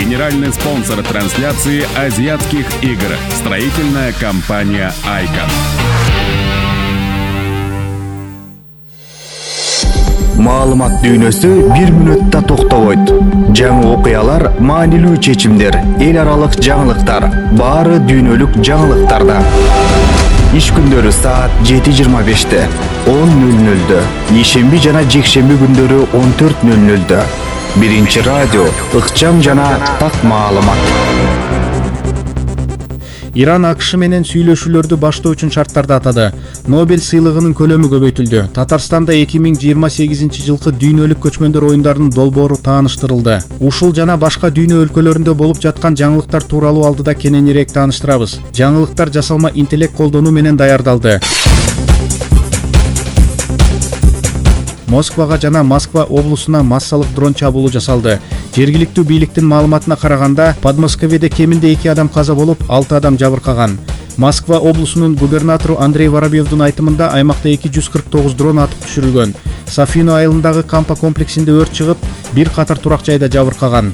Генеральный спонсор трансляции азиатских игр. Строительная компания «Айкон». Маалымат дүйнөсү бир мүнөттө токтобойт. Жаңы окуялар, маанилүү чечимдер, эл аралык жаңылыктар, баары дүйнөлүк жаңылыктарда. Иш күндөрү саат 7:25, 10:00, ишемби жана жекшемби күндөрү 14:00. Биринчи радио, ыкчам жана так маалымат. Иран АКШ менен сүйлөшүүлөрдү баштоо үчүн шарттарды атады. Нобель сыйлыгынын көлөмү көбөйтүлдү. Татарстанда 2028 жылкы дүйнөлүк көчмөндөр оюндарынын долбоору тааныштырылды. Ушул жана башка дүйнө өлкөлөрүндө болуп жаткан жаңылыктар тууралуу алдыда кененирээк тааныштырабыз. Жаңылыктар жасалма интеллект колдонуу менен даярдалды. Москвага жана Москва облусуна массалык дрон чабуулу жасалды. Жергиликтүү бийликтин маалыматына караганда, Подмосковьеде кеминде 2 адам каза болуп, 6 адам жабыркаган. Москва облусунун губернатору Андрей Воробьевдун айтымында аймакта 249 дрон атып түшүрүлгөн. Софино айылындагы кампа комплексинде өрт чыгып, бир катар турак жайда жабыркаган.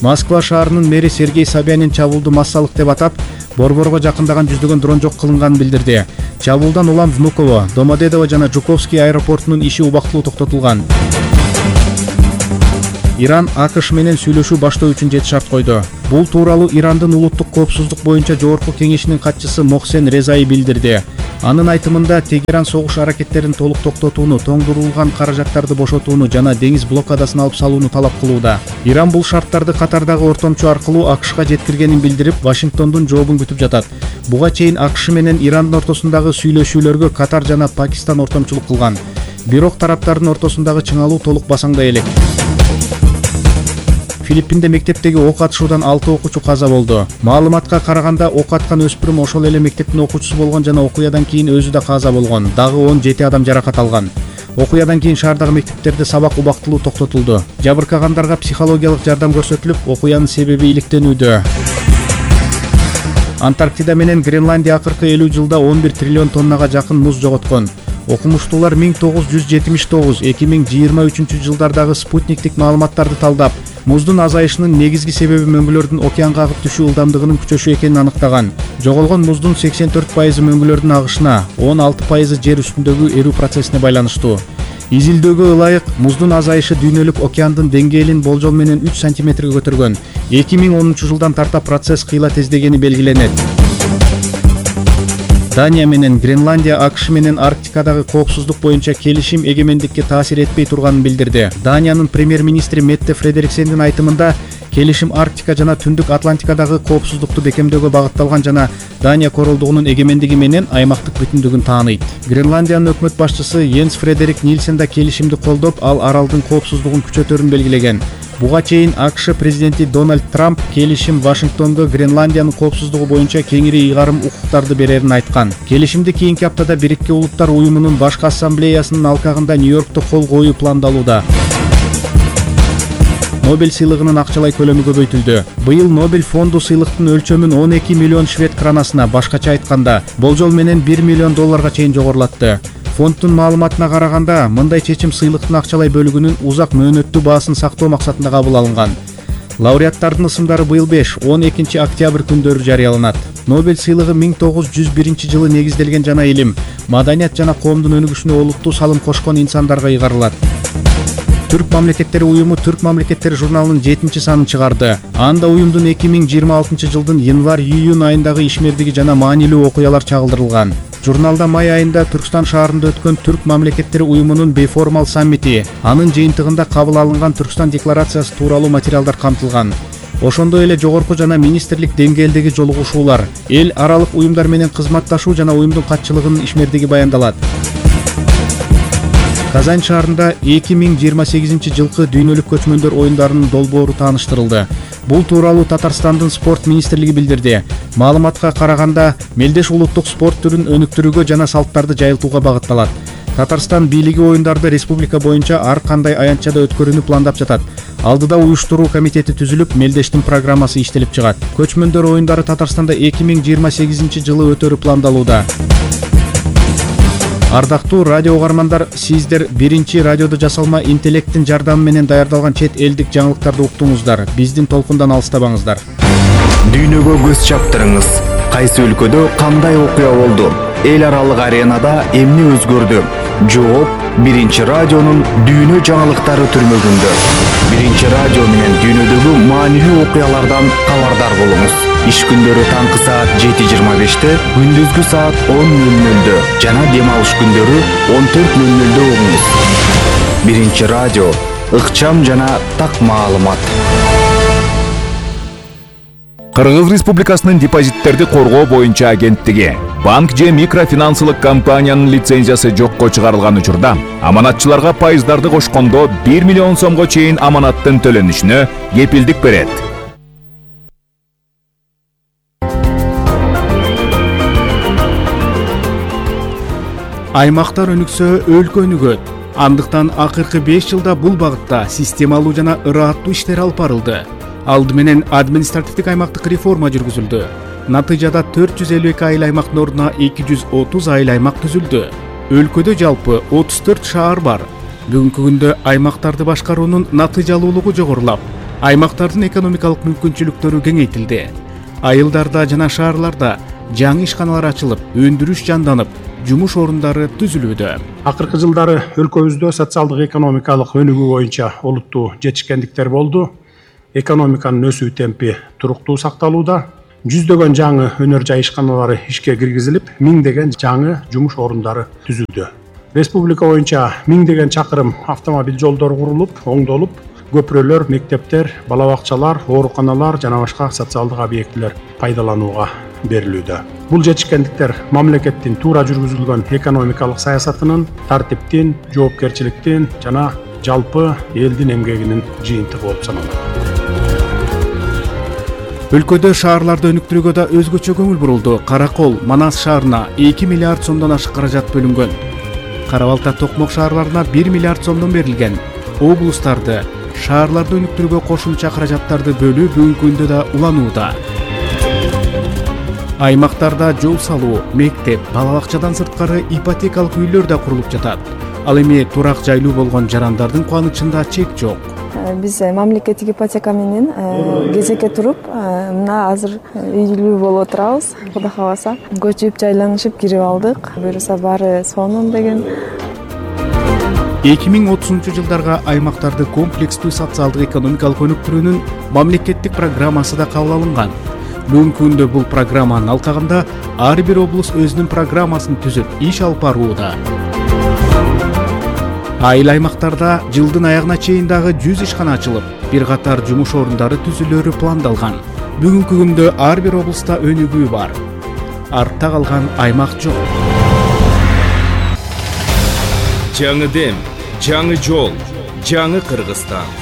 Москва шаарынын мэри Сергей Собянин чабуулду массалык деп атап, борборго жакындаган жүздөгөн дрон жок кылынганын билдирди. Чабуулдан улам Внуково, Домодедово жана Жуковский аэропортунун иши убактылуу токтотулган. Иран АКШ менен сүйлөшүү баштоо үчүн 7 шарт койду. Бул тууралуу Ирандын улуттук коопсуздук боюнча жогорку кеңешинин катчысы Мохсен Резаи билдирди. Анын айтымында Тегеран согуш аракеттерин толук токтотууну, тоңдурулган каражаттарды бошотууну жана деңиз блокадасын алып салууну талап кылууда. Иран бул шарттарды Катардагы ортомчу аркылуу АКШга жеткиргенин билдирип, Вашингтондун жообун күтүп жатат. Буга чейин АКШ менен Ирандын ортосундагы сүйлөшүүлөргө Катар жана Пакистан ортомчулук кылган. Бирок тараптардын ортосундагы чыңалуу толук басаңдай элек. Филиппинде мектептеги ок атышуудан 6 окуучу каза болду. Маалыматка караганда, ок аткан өспүрүм ошол эле мектептин окуучусу болгон жана окуядан кийин өзү да каза болгон. Дагы 17 адам жаракат алган. Окуядан кийин шаардагы мектептерде сабак убактылуу токтотулду. Жабыркагандарга психологиялык жардам көрсөтүлүп, окуянын себеби иликтенүүдө. Антарктида менен Гренландия акыркы 50 жылда 11 триллион тоннага жакын муз жоготкон. Окумуштуулар 1979-2023 жылдардагы спутниктик маалыматтарды талдап, муздун азайышынын негизги себеби мөңгүлөрдүн океанга агып түшүү ылдамдыгынын күчөшү экенин аныктаган. Жоголгон муздун 84% мөңгүлөрдүн агышына, 16% жер үстүндөгү эрүү процессине байланыштуу. Изилдөөгө ылайык, муздун азайышы дүйнөлүк океандын деңгээлин болжол менен 3 сантиметрге көтөргөн. 2010 жылдан тарта процесс кыйла тездегени белгиленет. Дания менен Гренландия АКШ менен Арктикадагы коопсуздук боюнча келишим эгемендикке таасир этпей турганын билдирди. Даниянын премьер-министри Метте Фредериксендин айтымында, келишим Арктика жана Түндүк Атлантикадагы коопсуздукту бекемдөөгө багытталган жана Дания королдугунун эгемендиги менен аймактык бүтүндүгүн тааныйт. Гренландиянын өкмөт башчысы Йенс Фредерик Нильсен да келишимди колдоп, ал аралдын коопсуздугун күчөтөрүн белгилеген. Буга чейин АКШ президенти Дональд Трамп келишим Вашингтондо Гренландиянын коопсуздугу боюнча кеңири ыйгарым укуктарды берерин айткан. Келишимди кийинки аптада Бириккен Улуттар уюмунун башкы ассамблеясынын алкагында Нью-Йоркто кол коюу пландалууда. Нобель сыйлыгынын акчалай көлөмү көбөйтүлдү. Быйыл Нобель фонду сыйлыктын өлчөмүн 12 миллион швед кранасына, башкача айтканда, болжол менен 1 миллион долларга чейин жогорулатты. Фонддун маалыматына караганда, мындай чечим сыйлыктын акчалай бөлүгүнүн узак мөөнөттүү баасын сактоо максатында кабыл алынган. Лауреаттардын ысымдары быйыл 5-12 октябрь күндөрү жарыяланат. Нобель сыйлыгы 1901 жылы негизделген жана илим, маданият жана коомдун өнүгүшүнө олуттуу салым кошкон инсандарга ыйгарылат. Түрк мамлекеттери уюму Түрк мамлекеттери журналынын 7-чи санын чыгарды. Анда уюмдун 2026 жылдын январь-июнь айындагы ишмердиги жана маанилүү окуялар чагылдырылган. Журналда май айында Түркстан шаарында өткөн Түрк мамлекеттери уюмунун бейформал саммити, анын жыйынтыгында кабыл алынган Түркстан декларациясы тууралуу материалдар камтылган. Ошондой эле жогорку жана министрлик деңгээлдеги жолугушуулар, эл аралык уюмдар менен кызматташуу жана уюмдун катчылыгынын ишмердиги баяндалат. Казань шаарында 2028 жылкы дүйнөлүк көчмөндөр оюндарынын долбоору тааныштырылды. Бул тууралуу Татарстандын спорт министрлиги билдирди. Маалыматка караганда, мелдеш улуттук спорт түрүн өнүктүрүүгө жана салттарды жайылтууга багытталат. Татарстан бийлиги оюндарды республика боюнча ар кандай аянтчада өткөрүүнү пландап жатат. Алдыда уюштуруу комитети түзүлүп, мелдештин программасы иштелип чыгат. Көчмөндөр оюндары Татарстанда 2028 жылы өтөрү пландалууда. Ардактуу радио угармандар, сиздер биринчи радиодо жасалма интеллекттин жардамы менен даярдалган чет элдик жаңылыктарды уктуңуздар. Биздин толкундан алыстабаңыздар. Дүйнөгө көз чаптырыңыз. Кайсы өлкөдө кандай окуя болду? Эл аралык аренада эмне өзгөрдү? Жооп биринчи радионун дүйнө жаңылыктары түрмөгүндө. Биринчи радио менен дүйнөдөгү маанилүү окуялардан кабардар болуңуз. Иш күндөрү таңкы саат 7:25-те, күндүзгү саат 10:00-дө жана дем алыш күндөрү 14:00-дө угуңуз. Биринчи радио, ыкчам жана так маалымат. Кыргыз Республикасынын депозиттерди коргоо боюнча агенттиги банк же микрофинансылык компаниянын лицензиясы жокко чыгарылган учурда аманатчыларга пайыздарды кошкондо 1 миллион сомго чейин аманаттын төлөнүшүнө кепилдик берет. Аймактар өнүксө, өлкө өнүгөт. Андыктан акыркы 5 жылда бул багытта системалуу жана ырааттуу иштер алып барылды. Алды менен административдик аймактык реформа жүргүзүлдү. Натыйжада 452 айыл аймактын ордуна 230 айыл аймак түзүлдү. Өлкөдө жалпы 34 шаар бар. Бүгүнкү күндө аймактарды башкаруунун натыйжалуулугу жогорулап, аймактардын экономикалык мүмкүнчүлүктөрү кеңейтилди. Айылдарда жана шаарларда жаңы ишканалар ачылып, өндүрүш жанданып, жумуш орундары түзүлүүдө. Акыркы жылдары өлкөбүздө социалдык экономикалык өнүгүү боюнча олуттуу жетишкендиктер болду. Экономиканын өсүү темпи туруктуу сакталууда. Жүздөгөн жаңы өнөр жай ишканалары ишке киргизилип, миңдеген жаңы жумуш орундары түзүлдү. Республика боюнча миңдеген чакырым автомобиль жолдору курулуп, оңдолуп, көпүрөлөр, мектептер, бала бакчалар, ооруканалар жана башка социалдык объектилер пайдаланууга берилүүдө. Бул жетишкендиктер мамлекеттин туура жүргүзүлгөн экономикалык саясатынын, тартиптин, жоопкерчиликтин жана жалпы элдин эмгегинин жыйынтыгы болуп саналат. Өлкөдө шаарларды өнүктүрүүгө да өзгөчө көңүл бурулду. Каракол, Манас шаарына 2 миллиард сомдон ашык каражат бөлүнгөн. Кара Балта, Токмок шаарларына 1 миллиард сомдон берилген. Облустарды, шаарларды өнүктүрүүгө кошумча каражаттарды бөлүү бүгүнкү күндө да уланууда. Аймактарда жол салуу, мектеп, бала бакчадан сырткары ипотекалык үйлөр да курулуп жатат. Ал эми турак жайлуу болгон жарандардын кубанычында чек жок. Биз мамлекеттик ипотека менен кезекке туруп, мына азыр үйлүү болуп отурабыз. Кудай кааласа, көчүп, жайланышып кирип алдык. Буюрса баары сонун деген. 2030-жылдарга аймактарды комплекстүү социалдык экономикалык өнүктүрүүнүн мамлекеттик программасы да кабыл алынган. Бүгүнкү күндө бул программанын алкагында ар бир облус өзүнүн программасын түзүп, иш алып барууда. Айыл аймактарда жылдын аягына чейин дагы 100 ишкана ачылып, бир катар жумуш орундары түзүлөрү пландалган. Бүгүнкү күндө ар бир облуста өнүгүү бар. Артта калган аймак жок. Жаңы дем, жаңы жол, жаңы Кыргызстан.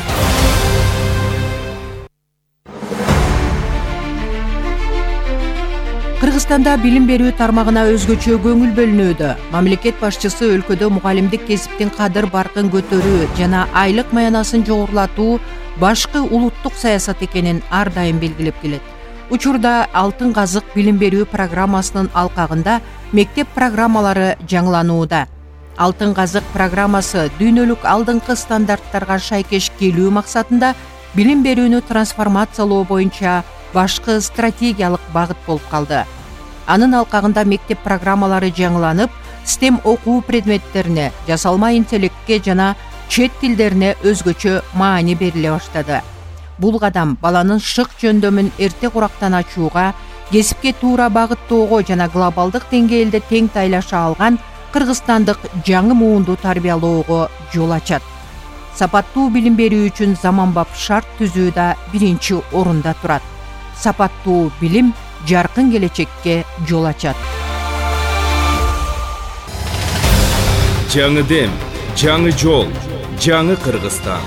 Кыргызстанда билим берүү тармагына өзгөчө көңүл бөлүнүүдө. Мамлекет башчысы өлкөдө мугалимдик кесиптин кадыр баркын көтөрүү жана айлык маянасын жогорулатуу башкы улуттук саясат экенин ар дайым белгилеп келет. Учурда Алтын казык билим берүү программасынын алкагында мектеп программалары жаңыланууда. Алтын казык программасы дүйнөлүк алдыңкы стандарттарга шайкеш келүү максатында билим берүүнү трансформациялоо боюнча башкы стратегиялык багыт болуп калды. Анын алкагында мектеп программалары жаңыланып, STEM окуу предметтерине, жасалма интеллектке жана чет тилдерине өзгөчө маани бериле баштады. Бул кадам баланын шык жөндөмүн эрте курактан ачууга, кесипке туура багыттоого жана глобалдык деңгээлде тең тайлаша алган кыргызстандык жаңы муунду тарбиялоого жол ачат. Сапаттуу билим берүү үчүн заманбап шарт түзүү да биринчи орунда турат. Сапаттуу билим жаркын келечекке жол ачат. Жаңы дем, жаңы жол, жаңы Кыргызстан.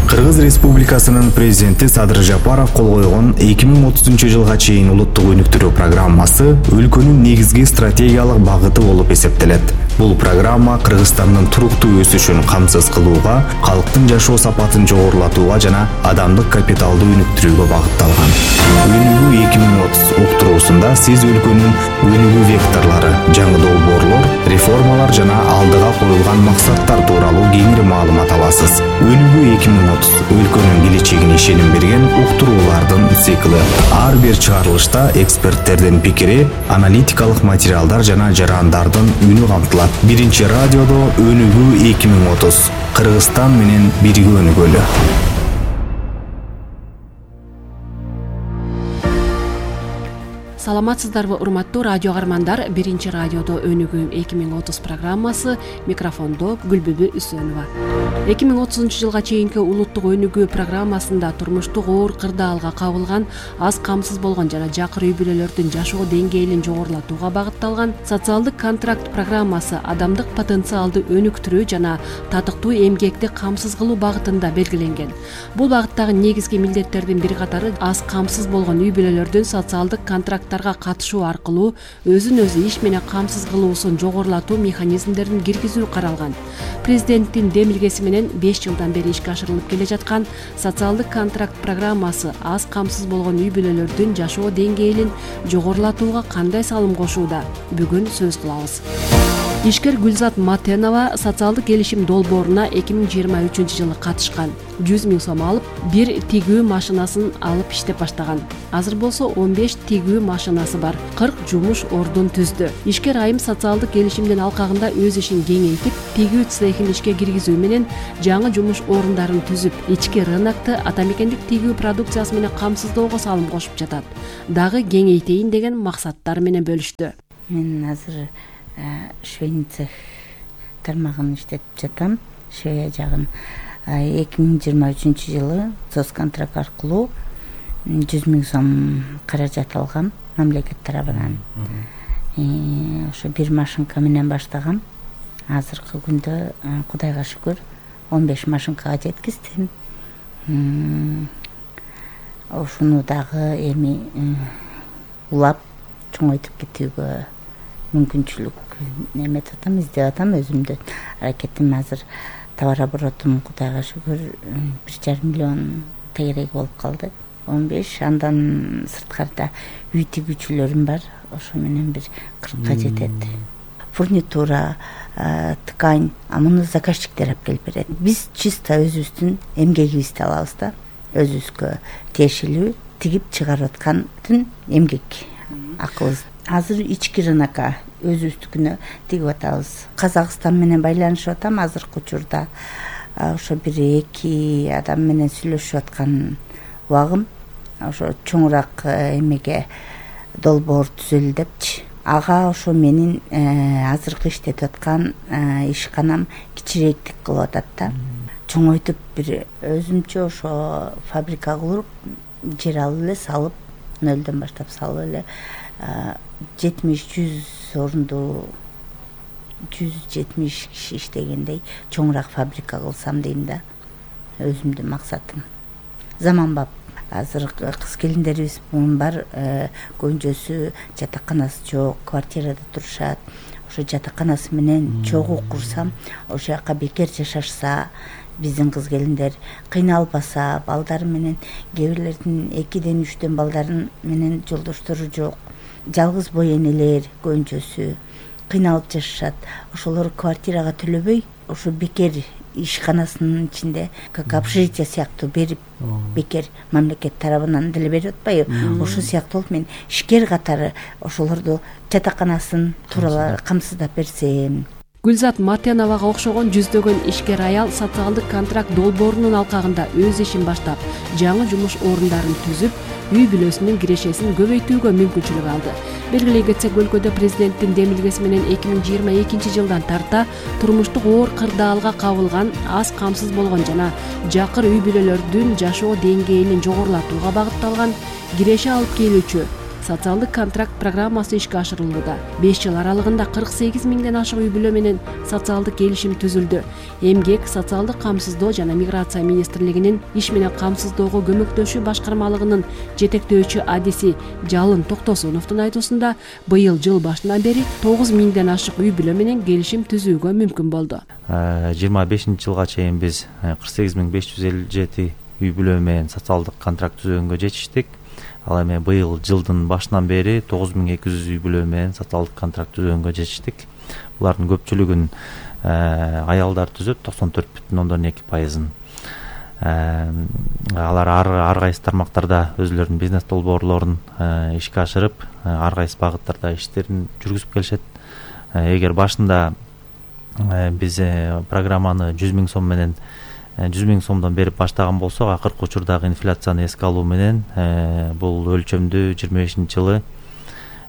Кыргыз Республикасынын президенти Садыр Жапаров кол койгон 2030-жылга чейин улуттук өнүктүрүү программасы өлкөнүн негизги стратегиялык багыты болуп эсептелет. Бул программа Кыргызстандын туруктуу өсүшүн камсыз кылууга, калктын жашоо сапатын жогорулатууга жана адамдык капиталды өнүктүрүүгө багытталган. Өнүгүү 2030 уктуруусунда сиз өлкөнүн өнүгүү векторлору, жаңы долбоорлор, реформалар жана алдыга коюлган максаттар тууралуу кеңири маалымат аласыз. Өнүгүү 2030 өлкөнүн келечегине ишеним берген уктуруулардын цикли. Ар бир чыгарылышта эксперттердин пикири, аналитикалык материалдар жана жарандардын үнү камтылат. Биринчи радиодо Өнүгүү 2030. Кыргызстан менен бирге өнүгөлү. Саламатсыздарбы, урматтуу радио каармандар. Биринчи радиодо Өнүгүү 2030 программасы, микрофондо Гүлбүбү Үсөнова. 2030 жылга чейинки улуттук өнүгүү программасында турмуштук оор кырдаалга кабылган, аз камсыз болгон жана жакыр үй бүлөлөрдүн жашоо деңгээлин жогорулатууга багытталган социалдык контракт программасы адамдык потенциалды өнүктүрүү жана татыктуу эмгекти камсыз кылуу багытында белгиленген. Бул багыттагы негизги милдеттердин бир катары аз камсыз болгон үй бүлөлөрдүн социалдык контракттарга катышуу аркылуу өзүн өзү иш менен камсыз кылуусун жогорулатуу механизмдерин киргизүү каралган. Президенттин демилгеси менен 5 жылдан бери ишке ашырылып келе жаткан социалдык контракт программасы аз камсыз болгон үй бүлөлөрдүн жашоо деңгээлин жогорулатууга кандай салым кошууда? Бүгүн сөз кылабыз. Ишкер Гүлзат Матенова социалдык келишим долбооруна 2023 жылы катышкан. 100 000 сом алып, бир тигүү машинасын алып иштеп баштаган. Азыр болсо 15 тигүү машинасы бар, 40 жумуш ордун түздү. Ишкер айым социалдык келишимдин алкагында өз ишин кеңейтип, тигүү цехин ишке киргизүү менен жаңы жумуш орундарын түзүп, ички рынокто атамекендик тигүү продукциясы менен камсыздоого салым кошуп жатат. Дагы кеңейтейин деген максаттар менен бөлүштү. Мен азыр швейный цех тармагын иштетип жатам. Швея жагын 2023 жылы соцконтракт аркылуу 100 000 сом каражат алгам мамлекет тарабынан. Ошо бир машинка менен баштагам. Азыркы күндө Кудайга шүгүр 15 машинкага жеткиздим. Ошону дагы эми улап чоңойтуп кетүүгө мүмкүнчүлүк неметип атам, издеп атам. Өзүмдүн аракетим азыр товар оборотум Кудайга шүгүр 1,5 миллион тегерек болуп калды. 15, андан сырткарда үй тигүүчүлөрүм бар. Ошо менен бир 40ка жетет. Фурнитура, ткань, муну заказчиктер алып келип берет. Биз чисто өзүбүздүн эмгегибизди алабыз да. Өзүбүзгө тиешелүү тигип чыгарып аткандын эмгек акыбыз. Азыр ички рынокко өзүбүздүкүнө тигип атабыз. Казакстан менен байланышып атам азыркы учурда. Ошо 1-2 адам менен сүйлөшүп аткан убагым. Ошо чоңураак эмеге долбоор түзөлү депчи. Ага ошо менин азыркы иштетип аткан ишканам кичирээктик кылып атат да. Чоңойтуп бир өзүмчө ошо фабрика куруп, жер алып эле салып, 0дон баштап салып эле 70-100 орунду 170 киши иштегендей чоңураак фабрика кылсам дейм да. Өзүмдүн максатым. Заманбап. Азыр кыз келиндерибиз бар, көбүнчөсү жатаканасы жок, квартирада турушат. Ошо жатаканасы менен чогуу курсам, ошол жака бекер жашашса, биздин кыз келиндер кыйналбаса, балдары менен кээ бирлердин 2ден 3дөн балдарын менен жолдоштору жок. Жалгыз бой энелер көбүнчөсү кыйналып жашашат. Ошолор квартирага төлөбөй, ошо бекер ишканасынын ичинде как общежитие сыяктуу берип, бекер мамлекет тарабынан деле берип атпайбы. Ошо сыяктуу болуп мен ишкер катары ошолорду жатаканасын тууралуу камсыздап берсем. Гүлзат Матеновага окшогон жүздөгөн ишкер аял социалдык контракт долбоорунун алкагында өз ишин баштап, жаңы жумуш орундарын түзүп, үй бүлөсүнүн кирешесин көбөйтүүгө мүмкүнчүлүк алды. Белгилей кетсек, өлкөдө президенттин демилгеси менен 2022 жылдан тарта турмуштук оор кырдаалга кабылган, аз камсыз болгон жана жакыр үй бүлөлөрдүн жашоо деңгээлин жогорулатууга багытталган киреше алып келүүчү социалдык контракт программасы ишке ашырылууда. 5 жыл аралыгында 48 миңден ашык үй бүлө менен социалдык келишим түзүлдү. Эмгек, социалдык камсыздоо жана миграция министрлигинин иш менен камсыздоого көмөктөшүү башкармалыгынын жетектөөчү адиси Жалын Токтосуновдун айтуусунда быйыл жыл башынан бери 9 миңден ашык үй бүлө менен келишим түзүүгө мүмкүн болду. 25-жылга чейин биз 48.557 үй бүлө менен социалдык контракт түзүүгө жетиштик. Ал эми быйыл жылдын башынан бери 9200 үй бүлө менен социалдык контракт түзүүгө жетиштик. Булардын көпчүлүгүн аялдар түзөт, 94,2%. Алар ар кайсы тармактарда өзлөрүнүн бизнес долбоорлорун ишке ашырып, ар кайсы багыттарда иштерин жүргүзүп келишет. Эгер башында биз программаны 100 миң сом менен 100 миң сомдон берип баштаган болсок, акыркы учурдагы инфляцияны эске алуу менен бул өлчөмдү 25-жылы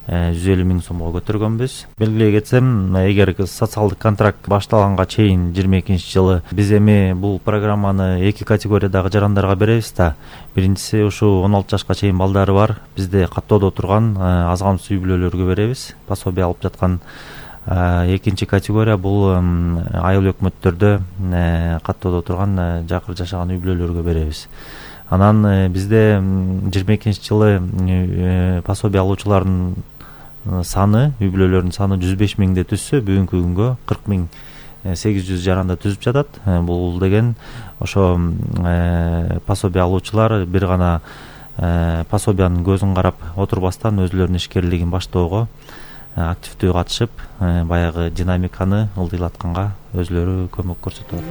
150 миң сомго көтөргөнбүз. Белгилей кетсем, эгер социалдык контракт башталганга чейин 22-жылы биз эми бул программаны 2 категориядагы жарандарга беребиз да. Биринчиси ушу 16 жашка чейин балдары бар, бизде каттоодо турган аз камсыз үй бүлөлөргө беребиз. Пособие алып жаткан экинчи категория бул айыл өкмөттөрдө каттоодо турган жакыр жашаган үй бүлөлөргө беребиз. Анан бизде 22-жылы пособие алуучулардын саны, үй бүлөлөрдүн саны 105 миңди түзсө, бүгүнкү күнгө 40.800 жаранда түзүп жатат. Бул деген ошо пособие алуучулар бир гана пособиянын көзүн карап отурбастан өзлөрүнүн ишкерлигин баштоого активдүү катышып, баягы динамиканы ылдыйлатканга өзлөрү көмөк көрсөтөт.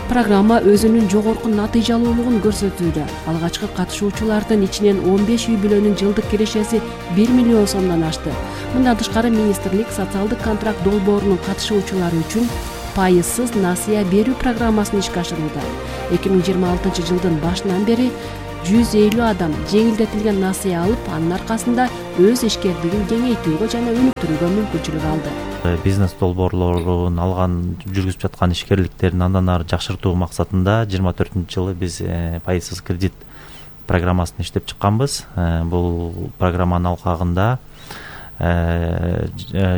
Программа өзүнүн жогорку натыйжалуулугун көрсөтүүдө. Алгачкы катышуучулардын ичинен 15 үй бүлөнүн жылдык кирешеси 1 миллион сомдон ашты. Мындан тышкары министрлик социалдык контракт долбоорунун катышуучулары үчүн пайызсыз насыя берүү программасын ишке ашырууда. 2026 жылдын башынан бери 150 адам жеңилдетилген насыя алып, анын аркасында өз ишкерлигин кеңейтүүгө жана өнүктүрүүгө мүмкүнчүлүк алды. Бизнес долбоорлорун алган, жүргүзүп жаткан ишкерликтерин андан ары жакшыртуу максатында 24-жылы биз пайызсыз кредит программасын иштеп чыкканбыз. Бул программанын алкагында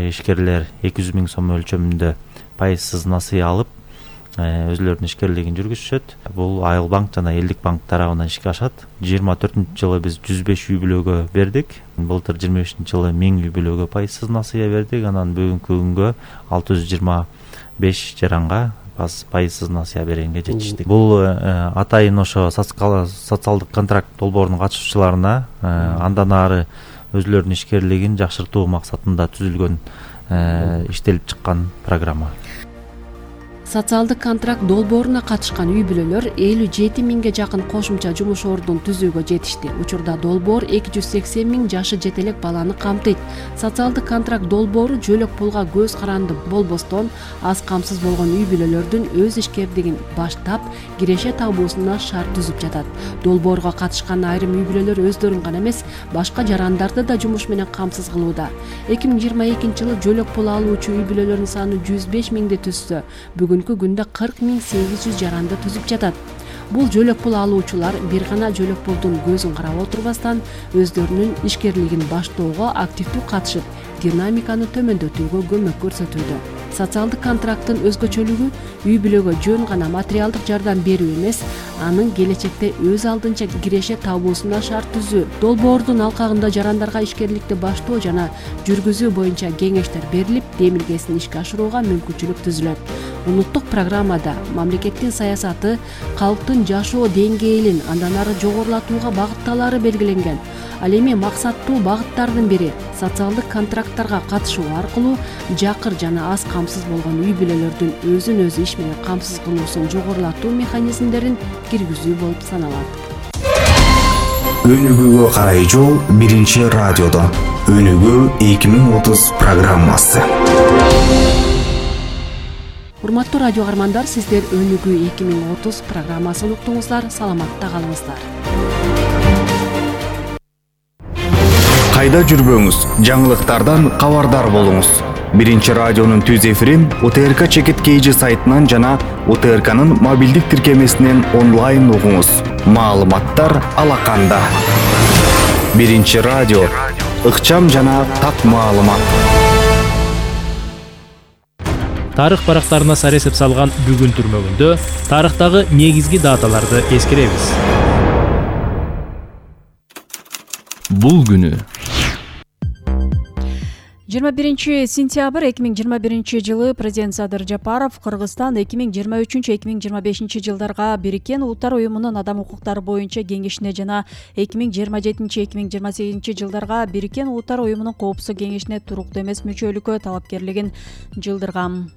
ишкерлер 200 миң сом өлчөмүндө пайызсыз насыя алып, өзлөрүнүн ишкерлигин жүргүзүшөт. Бул Айыл банк жана Элдик банк тарабынан ишке ашат. 24-жылы биз 105 үй бүлөгө бердик. Былтыр 25-жылы 1000 үй бүлөгө пайызсыз насыя бердик. Анан бүгүнкү күнгө 625 жаранга пайызсыз насыя бергенге жетиштик. Бул атайын ошо социалдык контракт долбоорунун катышуучуларына андан ары өзлөрүнүн ишкерлигин жакшыртуу максатында түзүлгөн, иштелип чыккан программа. Социалдык контракт долбооруна катышкан үй бүлөлөр 57 миңге жакын кошумча жумуш ордун түзүүгө жетишти. Учурда долбоор 280 миң жашы жете элек баланы камтыйт. Социалдык контракт долбоору жөлөк пулга көз каранды болбостон, аз камсыз болгон үй бүлөлөрдүн өз ишкерлигин баштап, киреше табуусуна шарт түзүп жатат. Долбоорго катышкан айрым үй бүлөлөр өздөрүн гана эмес, башка жарандарды да жумуш менен камсыз кылууда. 2022-жылы жөлөк пул алуучу үй бүлөлөрдүн саны 105 миңди түзсө, бүгүнкү күндө 40.800 жаранды түзүп жатат. Бул жөлөк пул алуучулар бир гана жөлөк пулдун көзүн карап отурбастан өздөрүнүн ишкерлигин баштоого активдүү катышып, динамиканы төмөндөтүүгө көмөк көрсөтүүдө. Социалдык контракттын өзгөчөлүгү үй бүлөгө жөн гана материалдык жардам берүү эмес, анын келечекте өз алдынча киреше табуусуна шарт түзүү. Долбоордун алкагында жарандарга ишкерликти баштоо жана жүргүзүү боюнча кеңештер берилип, демилгесин ишке ашырууга мүмкүнчүлүк түзүлөт. Улуттук программада мамлекеттин саясаты калктын жашоо деңгээлин андан ары жогорулатууга багытталары белгиленген. Ал эми максаттуу багыттардын бири социалдык контракттарга катышуу аркылуу жакыр жана аз камсыз болгон үй бүлөлөрдүн өзүн өзү иш менен камсыз кылуусун жогорулатуу механизмдерин киргизүү болуп саналат. Өнүгүүгө карай жол 1-радиодо. Өнүгүү 2030 программасы. Урматтуу радио каармандар, сиздер Өнүгүү 2030 программасын уктуңуздар. Саламатта калыңыздар. Кайда жүрбөңүз, жаңылыктардан кабардар болуңуз. 1-радионун түз эфирин УТРК Чекит KG сайтынан жана УТРКнын мобилдик тиркемесинен онлайн угуңуз. Маалыматтар алаканда. 1-радио ыкчам жана так маалымат. Тарых барактарына сар эсеп салган бүгүн түрмөгүндө тарыхтагы негизги даталарды эскеребиз. Бул күнү 21 сентябрь 2021 жылы президент Садыр Жапаров Кыргызстан 2023-2025 жылдарга Бириккен Улуттар уюмунун адам укуктары боюнча кеңешине жана 2027-2028 жылдарга Бириккен Улуттар уюмунун коопсуздук кеңешине туруктуу эмес мүчөлүккө талапкерлигин жылдырган.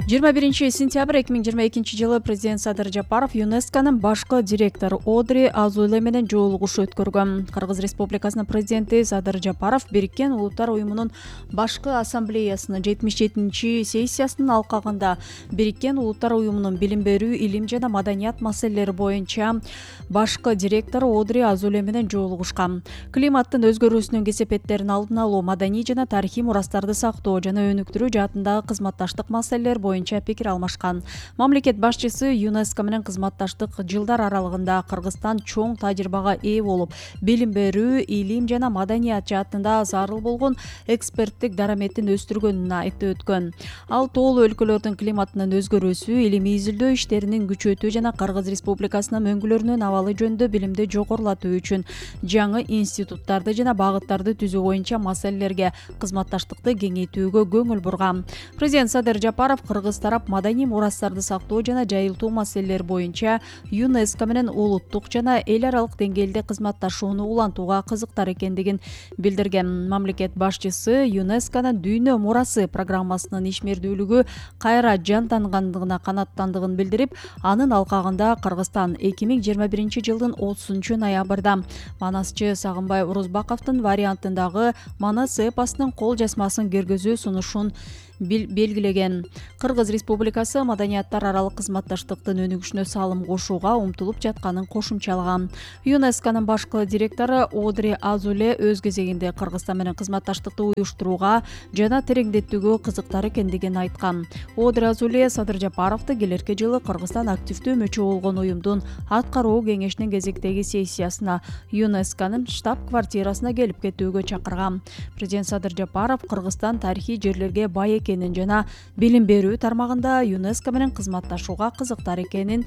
21 сентябрь 2022 жылы президент Садыр Жапаров ЮНЕСКОнун башкы директору Одри Азуле менен жолугушуу өткөргөн. Кыргыз Республикасынын президенти Садыр Жапаров Бириккен Улуттар уюмунун башкы ассамблеясынын 77-сессиясынын алкагында Бириккен Улуттар уюмунун билим берүү, илим жана маданият маселелери боюнча башкы директору Одри Азуле менен жолугушкан. Климаттын өзгөрүүсүнүн кесепеттерин алдын алуу, маданий жана тарыхый мурастарды сактоо жана өнүктүрүү жаатындагы кызматташтык маселелер боюнча пикир алмашкан. Мамлекет башчысы ЮНЕСКО менен кызматташтык жылдар аралыгында Кыргызстан чоң тажрыйбага ээ болуп, билим берүү, илим жана маданият жаатында зарыл болгон эксперттик дараметин өстүргөнүн айтып өткөн. Ал тоолуу өлкөлөрдүн климаттын өзгөрүүсү, илимий изилдөө иштеринин күчөтүү жана Кыргыз Республикасынын өңгөлөрүнүн абалы жөнүндө билимди жогорулатуу үчүн жаңы институттарды жана багыттарды түзүү боюнча маселелерге кызматташтыкты кеңейтүүгө көңүл бурган. Президент Садыр Жапаров Кыргыз тарап маданий мурастарды сактоо жана жайылтуу маселелери боюнча ЮНЕСКО менен улуттук жана эл аралык деңгээлде кызматташууну улантууга кызыктар экендигин билдирген. Мамлекет башчысы ЮНЕСКОнун дүйнө мурасы программасынын ишмердүүлүгү кайра жандангандыгына канааттандыгын билдирип, анын алкагында Кыргызстан 2021 жылдын 30 ноябрда Манасчы Сагынбай Урузбаковдун вариантындагы Манас эпосунун кол жазмасын киргизүү сунушун белгилеген. Кыргыз Республикасы маданияттар аралык кызматташтыктын өнүгүшүнө салым кошууга умтулуп жатканын кошумчалаган. ЮНЕСКОнун башкы директору Одри Азуле өз кезегинде Кыргызстан менен кызматташтыкты уюштурууга жана тереңдетүүгө кызыктар экендигин айткан. Одри Азуле Садыр Жапаровду келерки жылы Кыргызстан активдүү мүчө болгон уюмдун аткаруу кеңешинин кезектеги сессиясына ЮНЕСКОнун штаб-квартирасына келип кетүүгө чакырган. Президент Садыр Жапаров Кыргызстан тарыхый жерлерге бай экенин жана билим берүү тармагында ЮНЕСКО менен кызматташууга кызыктар экенин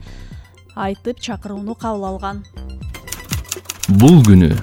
айтып чакырууну кабыл алган. Бул күнү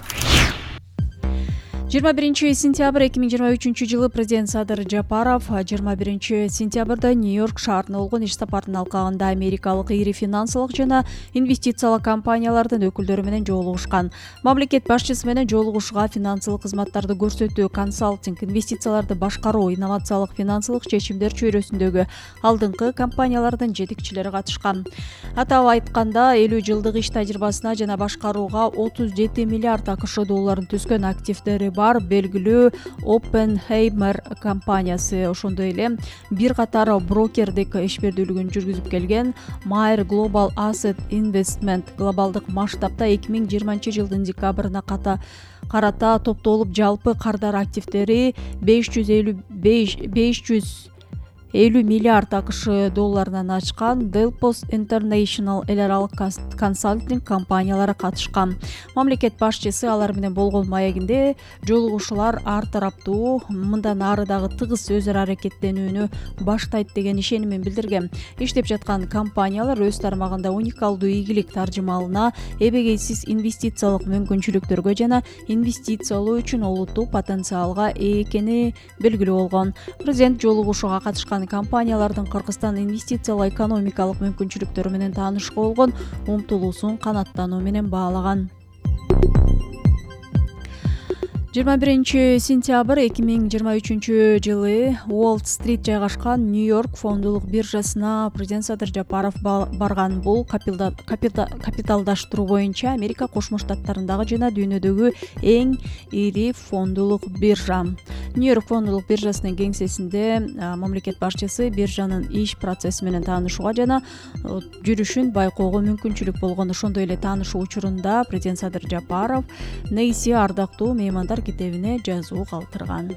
21 сентябрь 2023 жылы президент Садыр Жапаров 21 сентябрда Нью-Йорк шаарына болгон иш сапарынын алкагында америкалык ири финансылык жана инвестициялык компаниялардын өкүлдөрү менен жолугушкан. Мамлекет башчысы менен жолугушууга финансылык кызматтарды көрсөтүү, консалтинг, инвестицияларды башкаруу, инновациялык финансылык чечимдер чөйрөсүндөгү алдыңкы компаниялардын жетекчилери катышкан. Атап айтканда 50 жылдык иш тажрыйбасына жана башкарууга 37 миллиард АКШ долларын түскөн активдери бар белгилүү Oppenheimer компаниясы, ошондой эле бир катар брокердик ишбердүүлүгүн жүргүзүп келген Mayer Global Asset Investment глобалдык масштабта 2020 жылдын декабрына карата топтолуп жалпы кардар активдери 550 миллиард АКШ долларынан ачкан Delpos International эл аралык консалтинг компаниялары катышкан. Мамлекет башчысы алар менен болгон маегинде жолугушуулар ар тараптуу мындан ары дагы тыгыз өз ара аракеттенүүнү баштайт деген ишенимин билдирген. Иштеп жаткан компаниялар өз тармагында уникалдуу ийгилик таржымалына, эбегейсиз инвестициялык мүмкүнчүлүктөргө жана инвестициялоо үчүн олуттуу потенциалга ээ экени белгилүү болгон. Президент жолугушууга катышкан компаниялардын Кыргызстан инвестициялык экономикалык мүмкүнчүлүктөрү менен таанышууга болгон умтулуусун канааттануу менен баалаган. 21 сентябрь 2023 жылы Уолл-стрит жайгашкан Нью-Йорк фондулук биржасына президент Садыр Жапаров барган. Бул капиталдаштыруу боюнча Америка Кошмо Штаттарындагы жана дүйнөдөгү эң ири фондулук биржа. Нью-Йорк фондулук биржасынын кеңсесинде мамлекет башчысы биржанын иш процесси менен таанышууга жана жүрүшүн байкоого мүмкүнчүлүк болгон. Ошондой эле таанышуу учурунда президент Садыр Жапаров Нейси ардактуу меймандар китебине жазуу калтырган.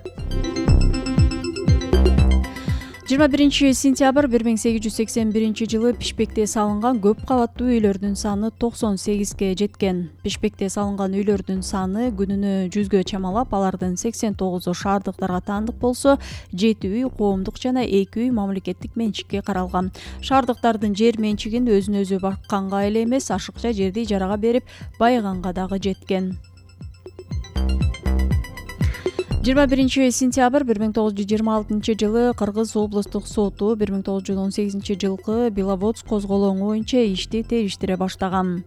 21 сентябрь 1881 жылы Бишкекте салынган көп кабаттуу үйлөрдүн саны 98ге жеткен. Бишкекте салынган үйлөрдүн саны күнүнө 100гө чамалап, алардын 89у шаардыктарга таандык болсо, 7 үй коомдук жана 2 үй мамлекеттик менчикке каралган. Шаардыктардын жер менчигин өзүн өзү бакканга эле эмес, ашыкча жерди ижарага берип байыганга дагы жеткен. 21 сентябрь 1926 жылы Кыргыз облустук соту 1918 жылкы Беловодск козголоңу боюнча ишти териштире баштаган.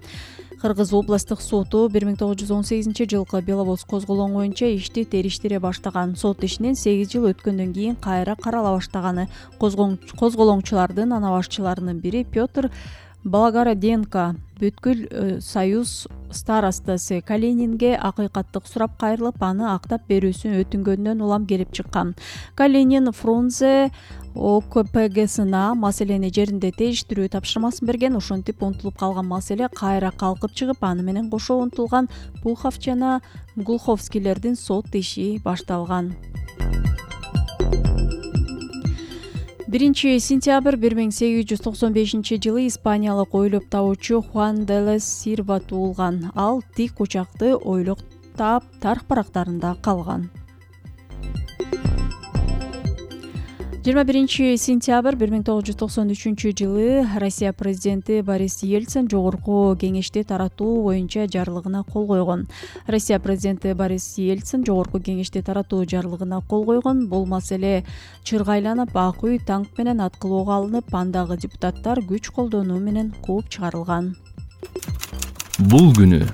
Кыргыз облустук соту 1918 жылкы Беловодск козголоңу боюнча ишти териштире баштаган. Сот ишинен 8 жыл өткөндөн кийин кайра карала баштаганы. Козголоңчулардын ана башчыларынын бири Петр Благороденко бүткүл союз старостасы Калининге акыйкаттык сурап кайрылып, аны актап берүүсүн өтүнгөндөн улам келип чыккан. Калинин Фрунзе ОКПГсына маселени жеринде териштирүү тапшырмасын берген. Ошентип унутулуп калган маселе кайра калкып чыгып, аны менен кошо унутулган Пухов жана Глуховскийлердин сот иши башталган. 1 сентябрь 1895 жылы испаниялык ойлоп табуучу Хуан де ла Сирва туулган. Ал тик учакты ойлоп таап тарых барактарында калган. 21 сентябрь 1993 жылы Россия президенти Борис Ельцин жогорку кеңешти таратуу боюнча жарлыгына кол койгон. Россия президенти Борис Ельцин жогорку кеңешти таратуу жарлыгына кол койгон. Бул маселе чыргайланып, ак үй танк менен аткылоого алынып, андагы депутаттар күч колдонуу менен кууп чыгарылган. Бул күнү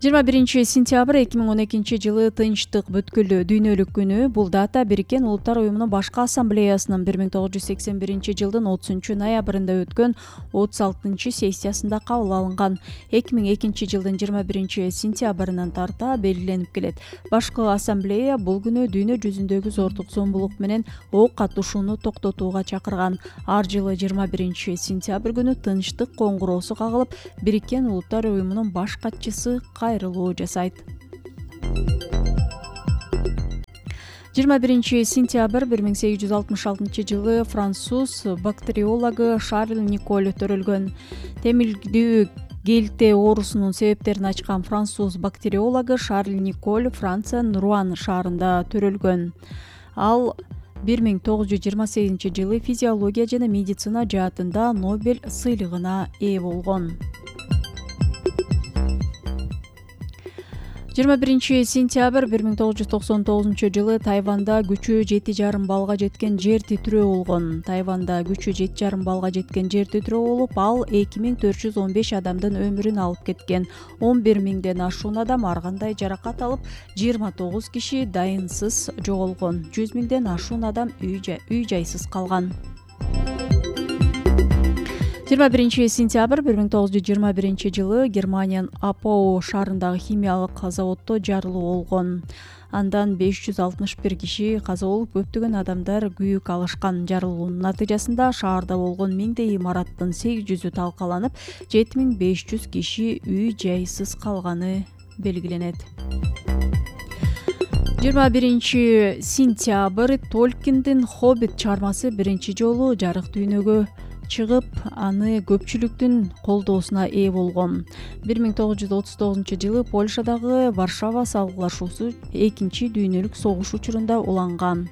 21 сентябрь 2012 жылы Тынчтык бүткүл дүйнөлүк күнү. Бул дата Бириккен Улуттар уюмунун башкы ассамблеясынын 1981 жылдын 30 ноябрында өткөн 36 сессиясында кабыл алынган. 2002 жылдын 21 сентябрынан тарта белгиленип келет. Башкы ассамблея бул күнү дүйнө жүзүндөгү зордук зомбулук менен ок атышууну токтотууга чакырган. Ар жылы 21 сентябрь күнү Тынчтык коңгуроосу кагылып, Бириккен Улуттар уюмунун баш катчысы кайрылуу жасайт. 21 сентябрь 1866 жылы француз бактериологу Шарль Николь төрөлгөн. Темилдүү келте оорусунун себептерин ачкан француз бактериологу Шарль Николь Франциянын Руан шаарында төрөлгөн. Ал 1928 жылы физиология жана медицина жаатында Нобель сыйлыгына ээ болгон. 21 сентябрь 1999 жылы Тайванда күчү 7,5 балга жеткен жер титирөө болгон. Тайванда күчү 7,5 балга жеткен жер титирөө болуп, ал 2415 адамдын өмүрүн алып кеткен. 11 миңден ашуун адам ар кандай жаракат алып, 29 киши дайынсыз жоголгон. 100 миңден ашуун адам үй жайсыз калган. 21 сентябрь 1921 жылы Германиянын Апау шаарындагы химиялык заводдо жарылуу болгон. Андан 561 киши каза болуп, көптөгөн адамдар күйүк алышкан. Жарылуунун натыйжасында шаарда болгон миңдей имараттын 800-ü талкаланып, 7500 киши үй жайсыз калганы белгиленет. 21 сентябрь Толкиндин Хоббит чыгармасы биринчи жолу жарык дүйнөгө чыгып, аны көпчүлүктүн колдоосуна ээ болгон. 1939 жылы Польшадагы Варшава салгылашуусу экинчи дүйнөлүк согуш учурунда уланган.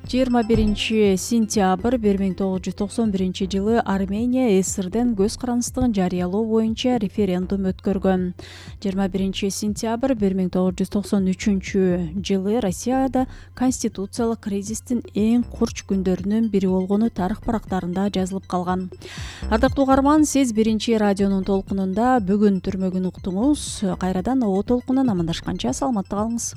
21 сентябрь 1991 жылы Армения СССРден көз карандыстыгын жарыялоо боюнча референдум өткөргөн. 21 сентябрь 1993 жылы Россияда конституциялык кризистин эң курч күндөрүнүн бири болгону тарых барактарында жазылып калган. Ардактуу угарман, сиз биринчи радионун толкунунда бүгүн түрмөгүн уктуңуз. Кайрадан о толкундан амандашканча саламатта калыңыз.